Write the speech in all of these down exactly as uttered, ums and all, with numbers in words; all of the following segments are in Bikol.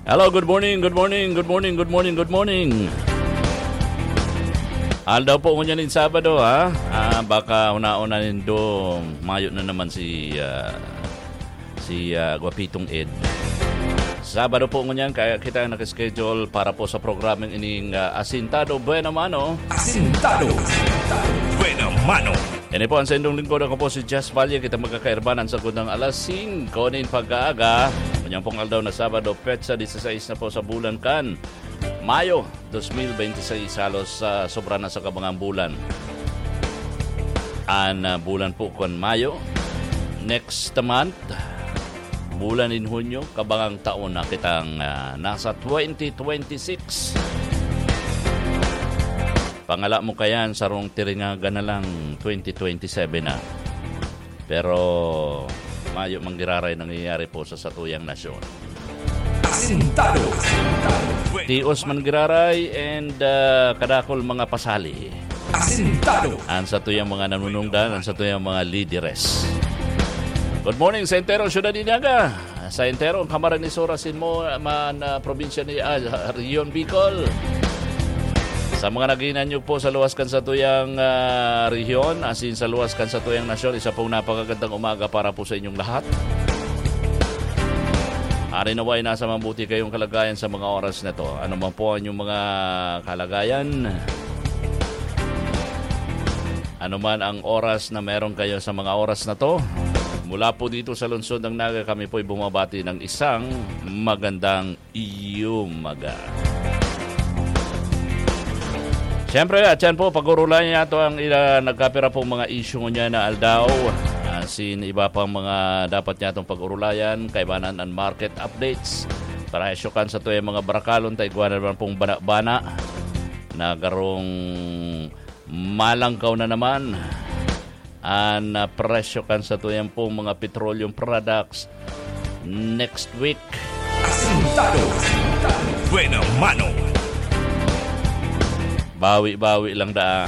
Hello, good morning, good morning, good morning, good morning, good morning. Aldaw po ngunyan nin Sabado, ha? Ah, baka hunaon na nindo, mayo na naman si, ah, si, ah, Guapitong Ed. Sabado po ngunyan, kaya kita nakaschedule para po sa programang ining, ah, Asintado Buena Mano. Asintado Buena Mano. Ini po ang saindong lingkod. Ako po si Jess Valle. Kita magkakairbanan sa gundang alas singko nin pagkaaga. Kanyang pong aldaw na Sabado, petsa disisais na po sa bulan kan Mayo dos mil bente seis. Halos, ah, sobra na sa kabangang bulan. An, ah, bulan po kan Mayo. Next month, bulan in Hunyo, kabangang taon na kitang, ah, nasa twenty twenty-six. Pangala mo kayan, sarong tiringagan na lang, twenty twenty-seven na. Pero mayo manggiraray nangyayari po sa satuyang nasyon. Asintado. Tios manggiraray and, ah, kadakol mga pasali. Asintado. Ang satuyang mga nanunungdan, ang satuyang mga lideres. Good morning sa entero syudad Dinaga. Sa entero ang kamarang ni Sora Sinmo man, ah, probinsya ni, ah, Region Bicol. Sa mga naghinanyog po sa luwas kan satuyang, ah, rehiyon, asin sa luwas kan satuyang nasyon, isa pong napakagandang umaga para po sa inyong lahat. Ari naway nasa mabuti kayong kalagayan sa mga oras na to. Ano man po ang inyong mga kalagayan, ano man ang oras na meron kayo sa mga oras na to, mula po dito sa lungsod ng Naga, kami po'y bumabati ng isang magandang umaga. Siyempre, at yan po, pag-urulayan niya ito ang ila, nagkapira pong mga issue ngunyan na aldaw. Asin iba pang mga dapat niya itong pag-urulayan, kaibanan ang market updates. Presyo kan satuyang mga barakalon, ta igwa na naman pong bana-bana na garong malangkaw na naman an, ah, presyo kan satuyang pong mga petroleum products next week. Asintado. Buena mano. Bawi-bawi lang daa.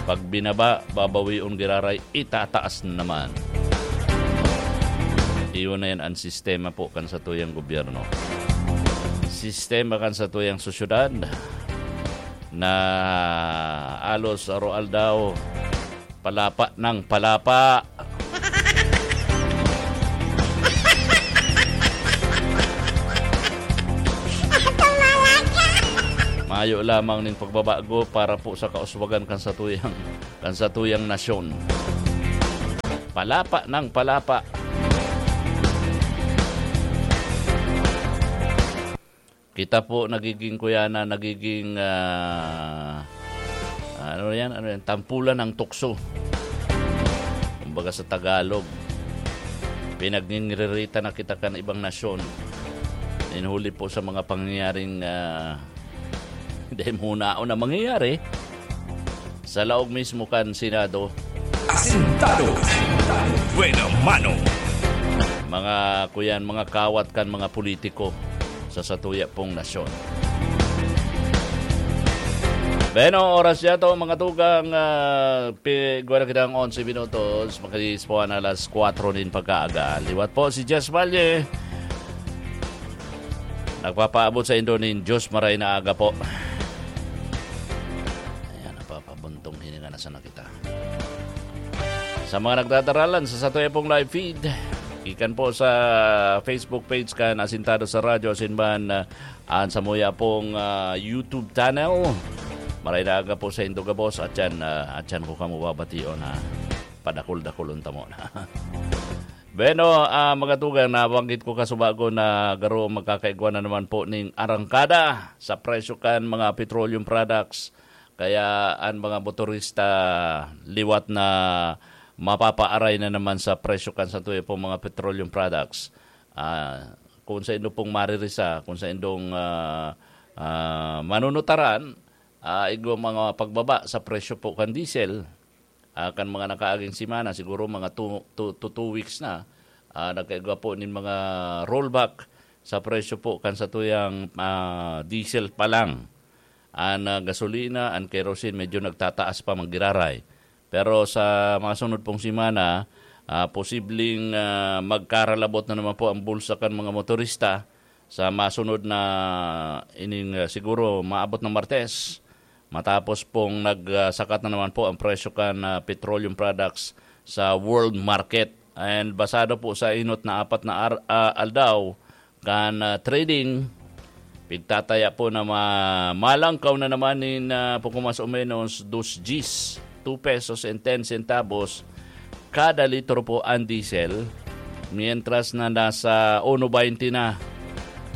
Pag binaba, babawion giraray, itataas na naman. Iyon na yan ang sistema po kan satuyang gobyerno. Sistema kan satuyang sosyedad na alos aroaldaw, palapa ng palapa. Mayo lamang ning pagbabago para po sa kauswagan kan satuyang, kan satuyang nasyon. Palapa ng palapa. Kita po nagiging, kuya, na nagiging, ah, ano yan? Ano yan? Tampulan ng tukso. Kumbaga sa Tagalog, pinagngingirita na kita kan ibang nasyon. Inhuli po sa mga pangyayaring, ah, dahil hunaon na mangyayari sa laog mismo kan Senado. Asintado. Buena mano. Mga kuyan, mga kawat kan mga politiko sa satuya pong nasyon. Bueno, oras niya to, mga tugang, ah, pi-, igwa na kitang onse minutos, makalispuan na alas kwatro nin pagkaaga. Liwat po si Jess Valle. Nagpapaabot sa indo nin Diyos maray na aga po. Ayan, napapabuntong hininga na sana kita. Sa mga nagdadaralan sa satuya pong live feed, ikan po sa Facebook page kan Asintado sa Radyo, asin man, ah, an samuya pong, ah, YouTube channel. Maray na aga po sa indo gabos, at yan, ah, at yan ko kamo babation, ha. Padakul-dakulon ta mo na. Bueno, ah, mga tugang, nabanggit ko kasubago na garo magkakaigwa na naman po ning arangkada sa presyo kan mga petroleum products. Kaya an mga motorista liwat na mapapaaray na naman sa presyo kan satuya pong mga petroleum products. Ah, kung sa indo pong maririsa, kung sa indong, ah, ah, manunutaran, ah, igwa mga pagbaba sa presyo po kan diesel, ah, kan mga nakaaging semana, siguro mga two, two, to two weeks na, ah, nagkaigwa po nin mga rollback sa presyo po kan satuyang, ah, diesel pa lang. An, ah, gasolina, an kerosene, medyo nagtataas pa, manggiraray. Pero sa mga sunod pong semana, ah, posibleng, ah, magkaralabot na naman po ang bulsa kan mga motorista sa masunod na ining, ah, siguro maabot na Martes, matapos pong nagsakat na naman po ang presyo kan, ah, petroleum products sa world market. And basado po sa inot na apat na ar-, ah, aldaw kan, ah, trading, pigtataya po na ma-, malangkaw na naman nin, ah, poco mas o menos dos Gs, two pesos and ten centavos kada litro po ang diesel, mientras na nasa uno baynte na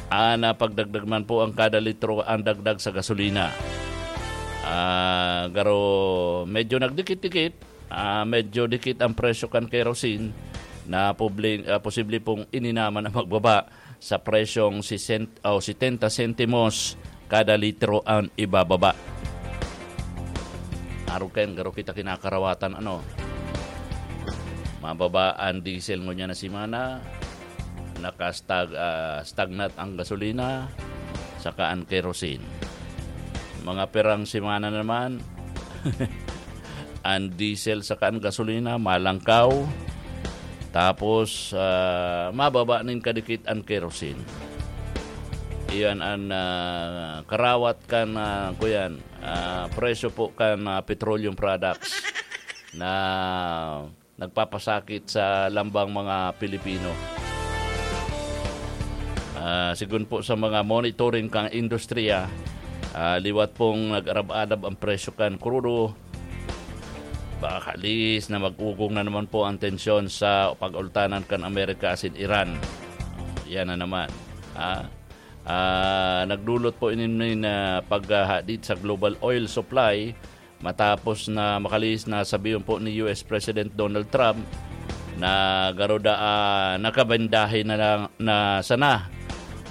ang, ah, pagdagdag man po ang kada litro ang dagdag sa gasolina. Ah, garo, medyo nagdikit-dikit, ah, medyo dikit ang presyo kan kerosene na publi-, ah, posible pong ini naman ang magbaba sa presyong sisent-, o setenta sentimos kada litro ang ibababa. Arog kayan, garo kita kinakarawatan, ano? Mababa ang diesel ngunyan na semana, nakastag-, ah, stagnant ang gasolina, saka ang kerosene. Mga pirang semana naman, ang diesel saka ang gasolina malangkaw, tapos, ah, mababa nin kadikit ang kerosene. Iyan ang, ah, karawat kan, ah, kuyan, ah, presyo po kan, ah, petroleum products na nagpapasakit sa lambang mga Pilipino. Ah, sigon po sa mga monitoring kan industriya, ah, liwat pong nag-arab-arab ang presyo kan krudo, baka lihis na mag-ugong na naman po ang tensyon sa pag-ultanan kan Amerika asin Iran. Yan na naman. Ah, ah, nagdulot po ini nin, ah, paghahadit sa global oil supply matapos na makalihis na sabihon po ni U S President Donald Trump na garo daa, ah, nakabendahe na lang na sana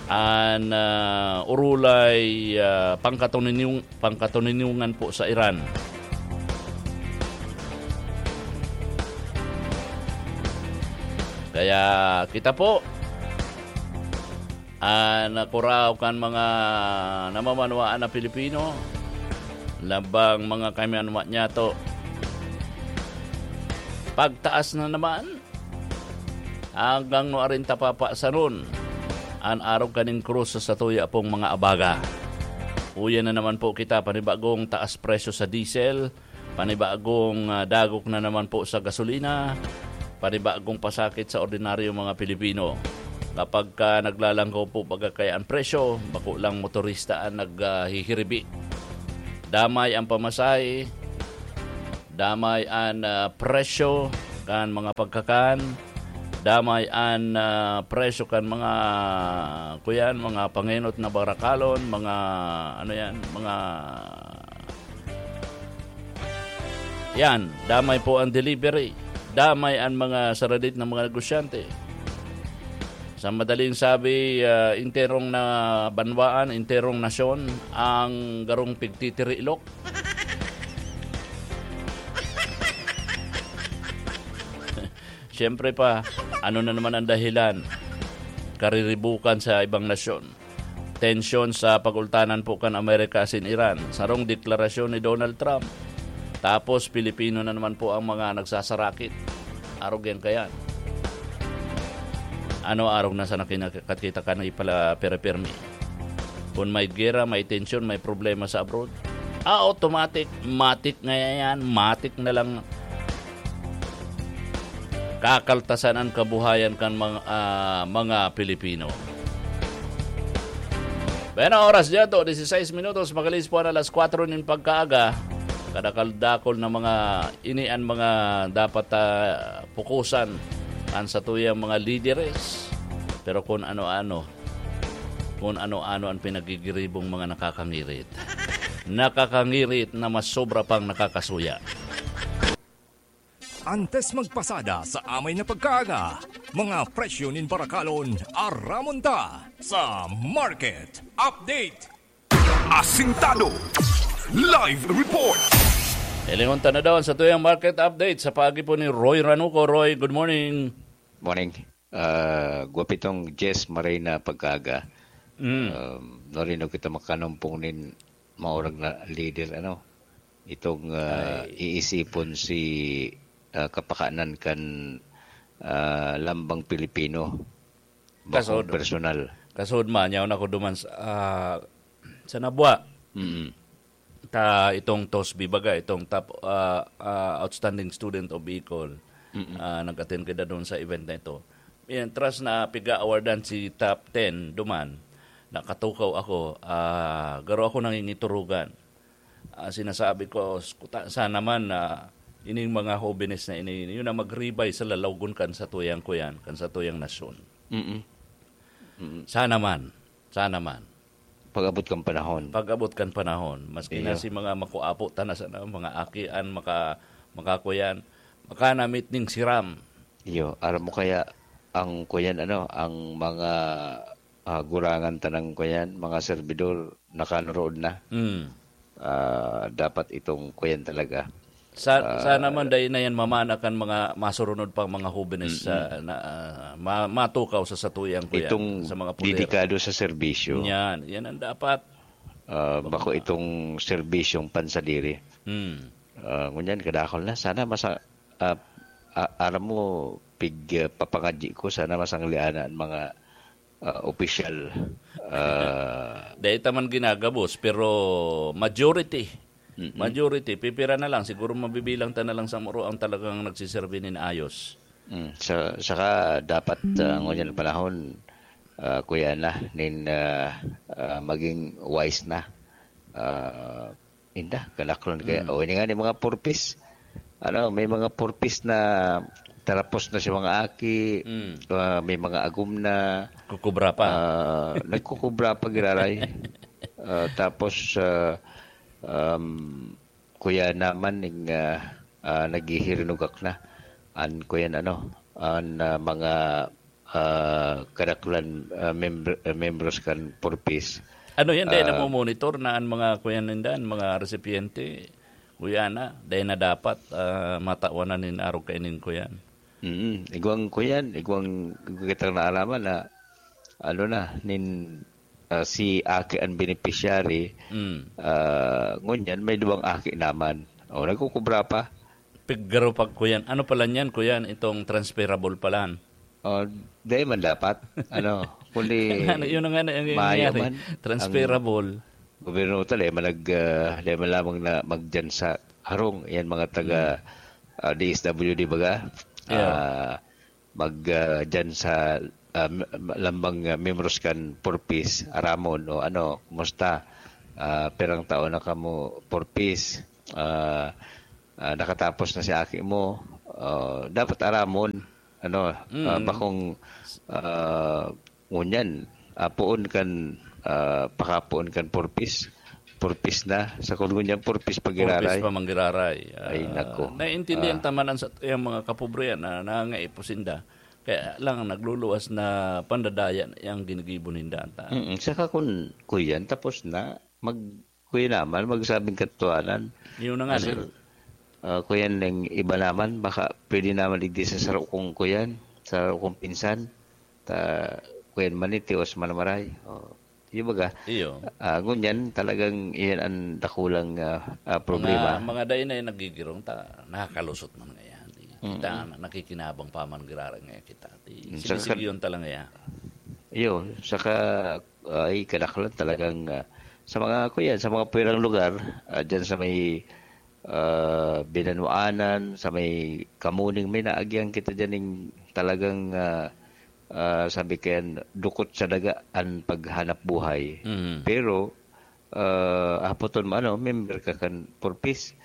an, ah, urulay, ah, pangkatuninyong-, pangkatuninyongan po sa Iran. Kaya kita po, ah, nakuraw kan mga namamanwaan na Pilipino, labang mga kaimanwa niyato. Pagtaas na naman, hanggang nuarin ta papasanon an arog kaning krus sa satuya pong mga abaga. Uya na naman po kita, panibagong taas presyo sa diesel, panibagong, ah, dagok na naman po sa gasolina, panibagong pasakit sa ordinaryong mga Pilipino. Kapag ka naglalangkaw po baga kaya ang presyo, bako lang motorista ang nag, ah, hihiribi. Damay ang pamasahe, damay an, ah, presyo kan mga pagkakan, damay an, ah, presyo kan mga, kuyan, mga pangenot na barakalon, mga, ano yan, mga, yan, damay po ang delivery, damay an mga saradit ng mga negosyante. Sa madaling sabi, ah, enterong na banwaan, enterong nasyon ang garong pigtitirilok. Siyempre pa, ano na naman ang dahilan? Kariribukan sa ibang nasyon. Tensyon sa pag-ultanan po kan Amerika asin Iran. Sarong deklarasyon ni Donald Trump. Tapos, Pilipino na naman po ang mga nagsasarakit. Arog yan kayan. Ano arog na sana kinakita ka na ipala permi? Kung may gera, may tensyon, may problema sa abroad, ah, automatic, matik ngayon yan, matik na lang kakaltasan ang kabuhayan kan mga, ah, mga Pilipino. Bueno, oras dyan to, dieciséis minutos, magalis po na alas kwatro nin pagkaaga. Kadakal-dakol na mga, ini ang mga dapat, ah, pukusan ang satuyang mga lideres. Pero kung ano-ano, kung ano-ano ang pinagigiribong mga nakakangirit. Nakakangirit na mas sobra pang nakakasuya. Antes magpasada sa amay na pagkaaga, mga presyo nin barakalon, aramon ta sa Market Update. Asintado. Live report. Hilingon ta na daw sa tuyang market update sa paagi po ni Roy Ranuco. Roy, good morning. Morning. Ah, gwapitong Jess Marina pagkaga. Mm. Um, narinig kita makanumpong nin maurag na leader, ano? Itong, ah, Ay. iisipon si, ah, kapakanan kan, ah, lambang Pilipino. Bakong Kasod. personal. Kasod man, yaon ako duman sa, ah, sa Nabua. Mm. Ta itong TOSB baga, itong top, ah, ah, outstanding student of Bicol, Mm. ah, nag-attend kita doon sa event na ito. Yan, tras na piga-awardan si top ten duman, nakatukaw ako, ah, garo ako nangingiturugan. Ah, sinasabi ko, "Skuta, sana man na ining mga hobenes na ini, yun ang magribay sa lalawgon kan sa tuyang kuyan, kan sa tuyang nasyon." Mm. Mm. Sana man, sana man. Pag-abot kan panahon. Pag-abot kan panahon, maski na Iyo. si mga makuapo ta na sana, mga akian, maka-, makakuyan, makanamit ning siram. Iyo, aram mo kaya ang kuyan, ano, ang mga, ah, gurangan tanang kuyan, mga servidor, nakanurood na. Mm. Ah, dapat itong kuyan talaga. Sa, Ah, sana man dai na yan mamana kan mga masurunod pang mga hobenes Mm-mm. sa, na, ah, ma-, matukaw sa satuyang kuyan, Itong sa mga pulero. dedikado sa serbisyo. Yan, yan ang dapat. Ah, bako Baka itong serbisyong pansadiri. Hmm. Ah, ngunyan, kadakol na. Sana masa-, ah, ah, aram mo, pig, ah, papangadyi ko, sana masanglian na ang mga, ah, opisyal. Ah, Dai ta man ginagabos, pero majority, Mm-mm. majority, pipira na lang, siguro mabibilang ta na lang sa muro ang talagang nagsiserbi nin ayos. Mm, sa, saka dapat, ah, ngunyan panahon, ah, kuya na, nin, ah, ah, maging wise na. Ah, inda, kanaklon kaya. Mm. O, ini nga ni mga purpis. Ano, may mga purpis na tarapos na si mga aki, Mm. ah, may mga agom na. Kukubra pa. Ah, nagkukubra pa, giraray. Ah, tapos, ah, um, kuya naman, ning, ah, ah, naghihirinugak na. An, kuya, ano, an, ah, mga, ah, kadaklan, ah, member, ah, membros kan purpis. Ano yan, dai Ah. namomonitor na an mga kuya ninda, an mga resipyente, kuya na, dai na dapat, ah, matawan na nin arog kainin kuyan? Mm, igwang kuyan, igwang, igwang kitang naalaman na, ano na, nin, ah, si aki an beneficiary, Mm. ah, ngunyan may duwang aki naman. O, nagkukubra pa. Pigaro pag kuyan. Ano pala niyan, kuyan? Itong transferable pala. O, dai man dapat. Ano, kundi Ano, yun na nga na, yung maayo nangyari. man. Transferable. Ang gobyerno ta, dai man nag, ah, dai man lamang na magdiyan sa harong. Yan mga taga, Mm. ah, D S W D baga. Yeah. Ah, mag, ah, diyan sa, ah, m-, lambang, ah, miyembros kan purpis, aramon, o ano, kumusta? Ah, pirang taon na kamo purpis? Ah, ah, nakatapos na si aki mo? Ah, dapat aramon, ano, ah, Mm. bakong, ah, ngunyan, ah, poon kan, ah, pakapoon kan purpis. Purpis na. Sa kun ngunyan purpis Purpis pagiraray. pa manggiraray. Ay, Ah, nako. naiintindihan Ah. ta man ang sa, yung mga kapobrehan na nangangaipo sinda. Kaya lang, nagluluwas na pandadaya ang ginigibo ninda, ta. Mm, saka kun kuyan, tapos na, mag-, kuya naman, magsabing katotohanan. Yun na nga, Ano, sir. ah, kuyan, yung iba naman, baka pwede naman digdi sa saro kong kuyan, sa saro kong pinsan. Ta, kuyan man, eh, tios man maray. O, di ba ga? Iyo. Ah, ngunyan, talagang iyan ang dakulang, ah, ah, problema. Mga, mga dai na yung nagigirong ta, nakakalusot man ngayon. Kita, Mm. nakikinabang pa man giraray ngayon kita. Di, Mm, saka sinisigi yun talaga yan. Iyo, saka, ay, kadaklan talagang, ah, sa mga, kuya, sa mga puwerang lugar, ah, dyan sa may, ah, Binanuanan, sa may Kamuning, may naagyan kita dyan yung talagang, ah, ah, sabi kayan, dukot sa daga an paghanap buhay. Mhm. Pero, ah, hapoton mo, ano, member ka kan Four Ps.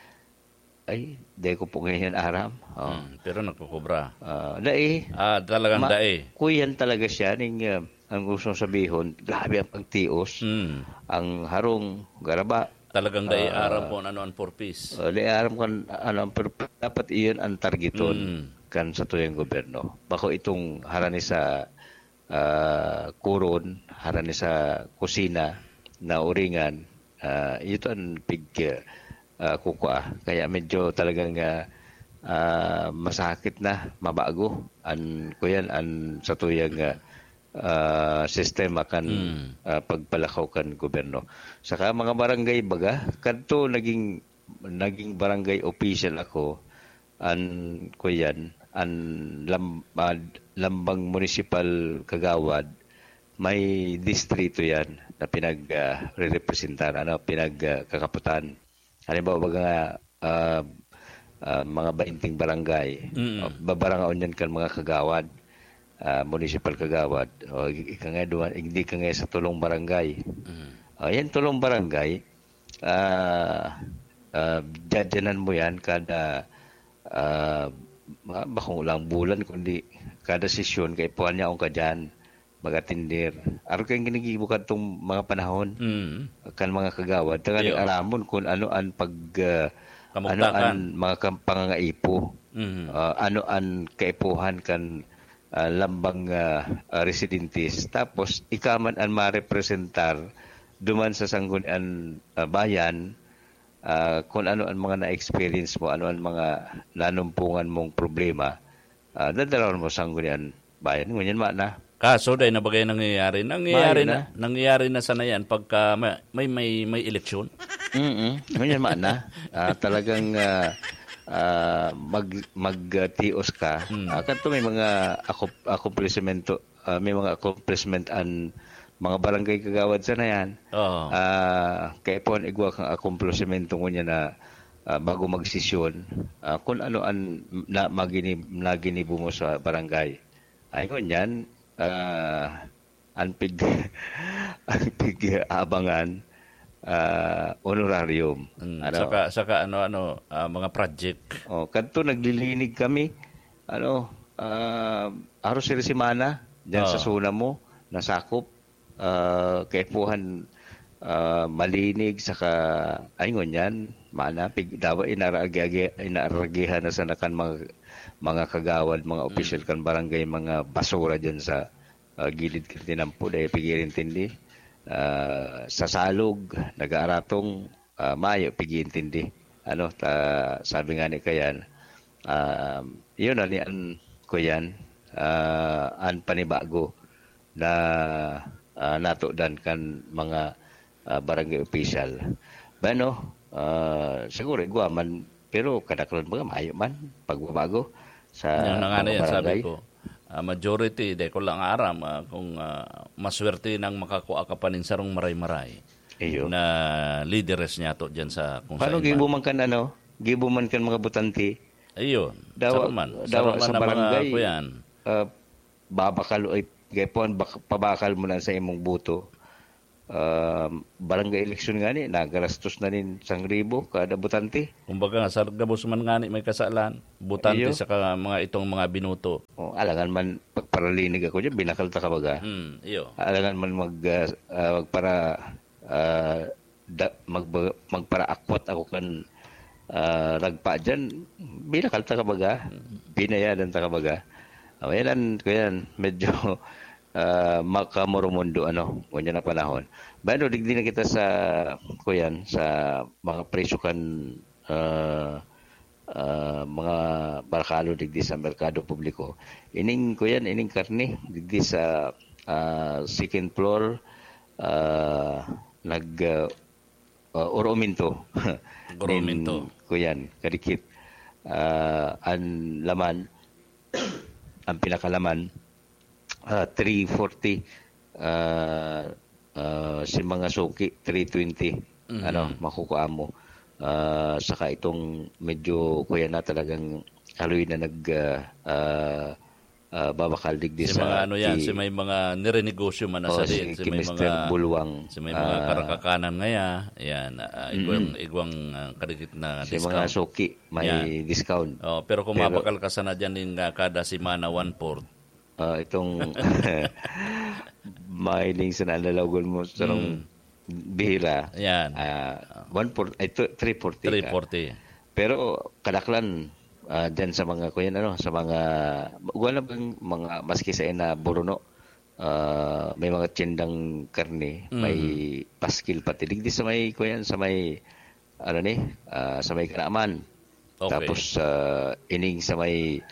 Ay, dai ko po ngayon aram. Oh. Hmm, pero nagkukubra. Ah, dai. Ah, talagang Ma-, dai. Kuyan talaga siya, ning, ah, ang gusto kong sabihon, grabe ang pagtios. Hmm. Ang harong, garaba. Talagang dai Ah, aram kung ano ang purpose. Ah, dai aram kung ano ang purpose. Dapat iyon ang targeton Hmm. kan satuyang gobyerno. Bako itong harani sa, ah, kuron, harani sa kusina, na uringan, ah, ito ang pig-, ah, kukua. Kaya medyo talagang, ah, ah, masakit na, mabago an, kuyan, an satuyang, ah, ah, sistema kan, Hmm. ah, pagpalakaw kan gobyerno. Saka mga barangay baga, kadto naging, naging barangay official ako, an, kuyan, an lam-, ah, lambang munisipal kagawad, may distrito yan na pinag, ah, rerepresentar, ano, pinag, ah, kakaputan. Halimbawa, baga nga, ah, ah, mga bainting barangay, Mm. ah, babarangaon yan kan mga kagawad, ah, municipal kagawad. O, ika nga, duwa-, hindi ka nga sa tulong barangay. Mm. Ah, yan tulong barangay, ah, ah, dyan-dyanan mo yan kada, ah, ma-, bakong lang bulan, kundi kada sesyon, kaipuhan niya akong kadyan, mag-atender. Aro kayong ginigibo kadtong mga panahon, Mm. kan mga kagawad, tanganing Iyo. aramon kung ano an pag, ah, ano Kamugtakan. an mga kam-, pangangaipo, Mm. ah, ano an kaipuhan kan, ah, lambang, ah, ah, residentes. Tapos, ika man an marepresentar duman sa sanggunian, ah, bayan, ah, kung ano an mga na-experience mo, ano an mga nanumpungan mong problema, ah, dadalawon mo sa sanggunian bayan. Ngunyan, mana. Kaso, dai na bagay nangyayari. Nangyayari Mayo na, na. nangyayari na sana yan pagka may, may, may, may eleksyon. Mm-mm. Ngunyan, mana. Ah, talagang, ah, ah, mag-, mag-, ah, tios ka. Hmm. Ah, kanto may mga akop-, akomplisimento, ah, may mga accomplishment an mga barangay kagawad sana yan. Oo. Ah, kaya po ang igwa kang akomplisimento ngunyan na, ah, bago magsesyon, ah, kung ano an na, magini-, naginibo mo sa barangay. Ay, ngunyan, ah, ang pig-, ang pig-aabangan, ah, honorarium. Mm, Ano? saka, saka ano, ano, ah, mga project. Oh, kadto naglilinig kami, ano, ah, aros sa semana, dyan sa Oo. zona mo, nasakop, ah, kaipuhan, ah, malinig, saka, ay, ngunyan, mana, pig-, dawa, inaragi-, inaaragihan na sana kan mga, mga kagawad, mga Mm. opisyal kan barangay, mga basura dyan sa, ah, gilid kan tinampo, dahil pig-iintindi. Ah, sa salog, nag-aaratong, ah, mayo, pig-iintindi. Ano, ta-, sabi nga ni Kayan, ah, yun, ano, an, Kuyan, ah, an panibago na, ah, natudan kan mga, ah, barangay official. Bueno, ah, siguro igwa man, pero kadaklan baga mayo man, pagbabago sa Yan na nga mga na yan, sabi barangay. ko. Ah, majority, di ko lang aram, ah, kung, ah, maswerte nang makakua ka pa nin sarong maray-maray Iyo. na lideres niya to dyan sa kung Paano saan gibo man. man kan ano? Gibo man kan mga butante? Ayun, Dawa, saro man. dawa Saro man sa ang mga barangay. kuyan. Ah, babakal, ay, gaypon, bak-, pabakal mo na sa imong boto. Ah, barangay election nga ni, nagarastos na nin sang ribo kada butante. Kumbaga nga, sa gabos man nga ni may kasalan, butante Iyo. saka mga itong mga binuto. Oh, alangan man, pagparalinig ako dyan, binakal ta ka baga. Hmm, iyo. Alangan man mag, ah, ah, magpara-, ah, da-, magba-, magparaakwat ako kan, ah, ragpa dyan, binakal ta ka baga. Hmm. Binayadan ta ka baga. Oh, yan ang, kuyan, medyo, ah, makamoromundo, ano, ngunyan na panahon. Bueno, digdi na kita sa, kuyan, sa mga presyo kan, ah, ah, mga barakalo digdi sa merkado publiko. Ining, kuyan, ining karne, digdi sa, ah, second floor, ah, nag, ah, ah, orominto. Orominto. Nin, kuyan, kadikit. Ah, an laman, ang pinakalaman, ah, three forty, ah, ah, si mga suki, three twenty, Mhm. ano, makukuha mo. Ah, saka itong medyo, kuya na, talagang haloy na nag, ah, ah, ah, babakal digdi Si sa mga ano yan, ti- si may mga nirenegosyo man na Oh, sa si diin, si may Mister mga, Bulwang, si may mga ah, karakakanan ngaya, yan, ah, igwang, Mm-mm. igwang, ah, kadikit na Si mga discount. suki, may Yan. discount. Oh, pero kung Pero mabakal ka sana dyan, yung, ah, kada semana, one-fourth. Ah, itong mahiling sa nalalagon mo sa nung Mm. bihira, Yan. ah, one forty, ay, two, three forty ka. Three forty. Pero kadaklan, ah, dyan sa mga, kuyan, ano, sa mga, wala bang mga, maski sa ina, buruno, ah, may mga tindang karne, may Mhm. paskil pati. Digdi sa may, kuyan, sa may, ano ni, ah, sa may Kanaman. Okay. Tapos, ah, ining sa may,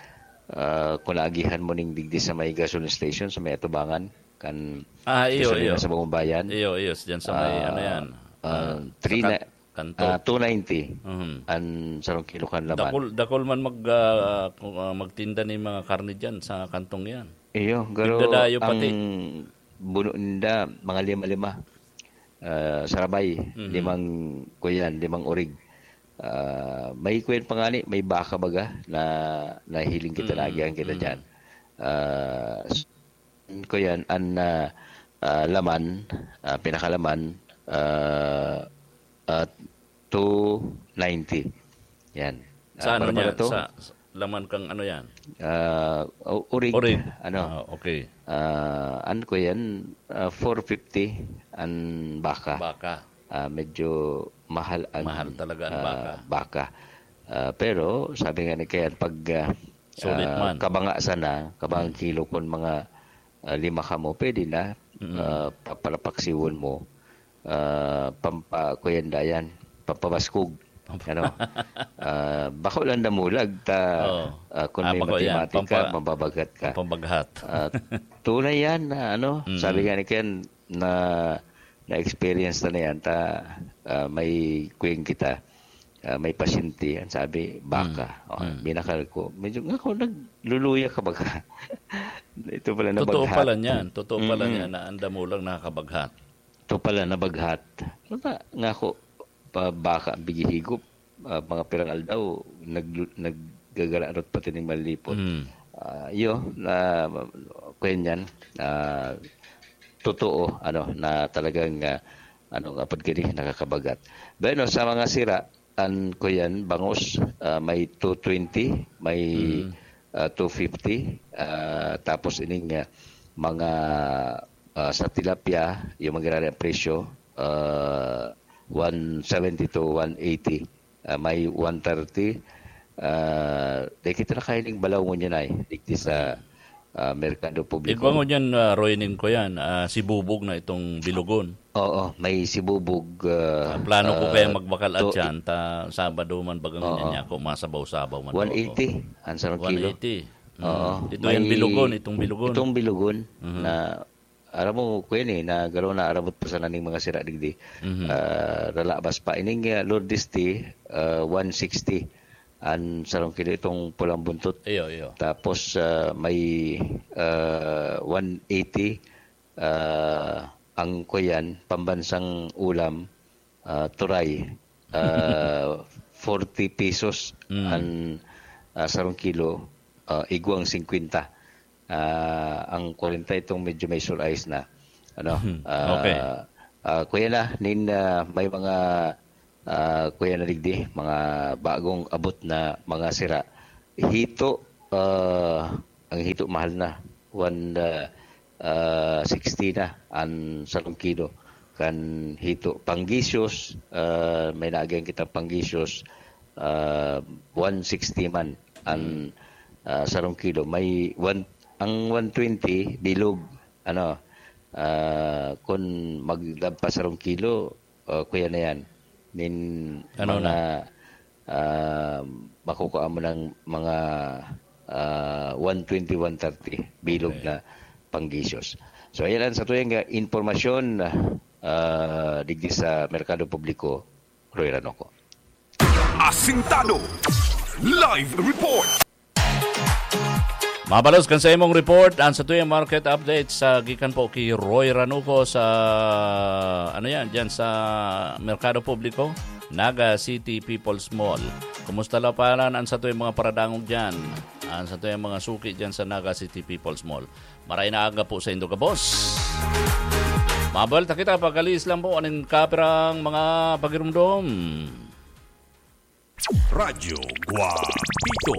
ah, kung naagihan mo ning digdi sa may gasoline station, sa may atubangan, kan Ah, iyo, gasolina iyo. sa Bagong Bayan. Iyo, iyo, dyan sa may, Ah, ano yan? ah, Ah, three sa na, kan-, kanto. ah, two ninety Mhm. an sarong kilo kan laman. Dakul, dakul man mag, ah, kung, ah, magtinda ni mga karne dyan sa kantong yan. Iyo, garo Nagdadayo pati. ang buno ninda, mga lima-lima. Ah, sarabay, Mhm. limang, kuyan, limang orig. Ah, may kuyan pa nga ni, may baka baga na nahiling kita, Mm, naagihan kita mm. diyan. Ah, s-, kuyan, an, ah, ah, laman, ah, pinakalaman, ah, ah, two ninety. Yan. Ah, Sa ano para niya? to? Sa, sa laman kang ano yan? Ah, u-, urig. Urig. Ano? Ah, okay. Ah, ano ko yan? Ah, four fifty an baka. Baka. Ah, medyo mahal ang, Mahal talaga ang ah, baka. baka. Ah, pero sabi nga ni Kayan, pag, ah, Sulit ah, man. kabanga sana, kabanga Mm. kilo, kung mga, ah, lima ka mo, pwede na. Mm. Ah, papalapaksiwon mo. Ah, pampa-, kuyan dayan, pampabaskog. Pampa- Ano? Ah, bako lang damulag, ta, Oo. ah, kung Ah, may bako yan. matematika, Pampa-, mababaghat ka. pampabaghat. Ah, tunay yan na ano, Mm. sabi nga ni Ken, na, na-experience na na yan, ta, ah, may kuyan kita, ah, may pasyente, ang sabi, baka. Mm. Oh, Mm. binakal ko. Medyo nga ako, nagluluya ka baga. Ito pala, Totoo nabaghat. pala niyan. Totoo pala Mm-mm. niyan na ang damulag nakakabaghat. Ito pala, nabaghat. Ano ba? Nga ako, pa, baka, bigihigop. Ah, mga pirang aldaw, nag-, naggagalarot pati ning malipot. Mm. Ah, iyo, na, kuyan yan, ah, totoo, ano, na talagang, ah, ano, nga pag gini, nakakabagat. Bueno, sa mga sira, an, kuyan, bangus, ah, may two twenty, may, Mm. ah, two fifty, ah, tapos ining, ah, mga, ah, sa tilapia, yung mga ang presyo, ah, one seventy to one eighty, ah, may one thirty. Ah, di kita nakahiling balaw ngunyan ay, digdi sa, ah, merkado publiko. Igwa ngunyan, ah, Roy, ning kuyan, ah, sibubog na itong bilugon. Oo, may sibubog, ah, Ah, plano ko ah, kaya magbakal at to-, yan, ta Sabado man bagang Oo. ngunyan niya ako, masabaw-sabaw man ako. One eighty, ang sarong kilo. One eighty. Mm. Oo, Ito yung may bilugon, itong bilugon. itong bilugon Mhm. na, aram mo, kuyan eh, na garo na arabot pa sana ning mga sira digdi. Mhm. Ah, lalabas pa. Ining, ah, Lourdes tea, ah, one sixty. Ang sarong kilo itong pulang buntot. Iyo, iyo. Tapos, ah, may, ah, one eighty, ah, ang kuyan, pambansang ulam, ah, turay. Ah, forty pesos Mm. ang, ah, sarong kilo, ah, igwang singkwenta. Ah, ang kwarenta itong medyo may sulais na. Ano? Mhm. Ah, Okay. ah, kuya na, nin, ah, may mga, ah, kuya na digdi, mga bagong abot na mga sira. Hito, ah, ang hito mahal na. One, ah, ah, sixty na ang sarong kilo. Kan hito, panggisyos, ah, may naagihan kitang panggisyos, ah, one sixty man ang, ah, sarong kilo. May one, ang one twenty, bilog. Ano, ah, kun maglagpas sarong kilo, ah, kuya na yan. Nin Ano mga, na? ah, makukuha mo ng mga, ah, one twenty, one thirty, bilog Okay. na panggisyos. So, ayan ang sa tuyang, ah, impormasyon, ah, digdi sa Merkado Publiko, Roy Ranoco. Asintado. Live report. Mabalos kan sa imong report, ang sa tuyang market update sa gikan po ki Roy Ranuco sa, ano yan, dyan sa Merkado Publiko, Naga City People's Mall. Kumusta la palan ang sa tuyang mga paradangog dyan? Ang sa tuyang mga suki dyan sa Naga City People's Mall. Maray na aga po sa indo gabos. Mabalta kita, pag-alis lang po, aning kapirang mga pagirumdom. Radyo Guapito.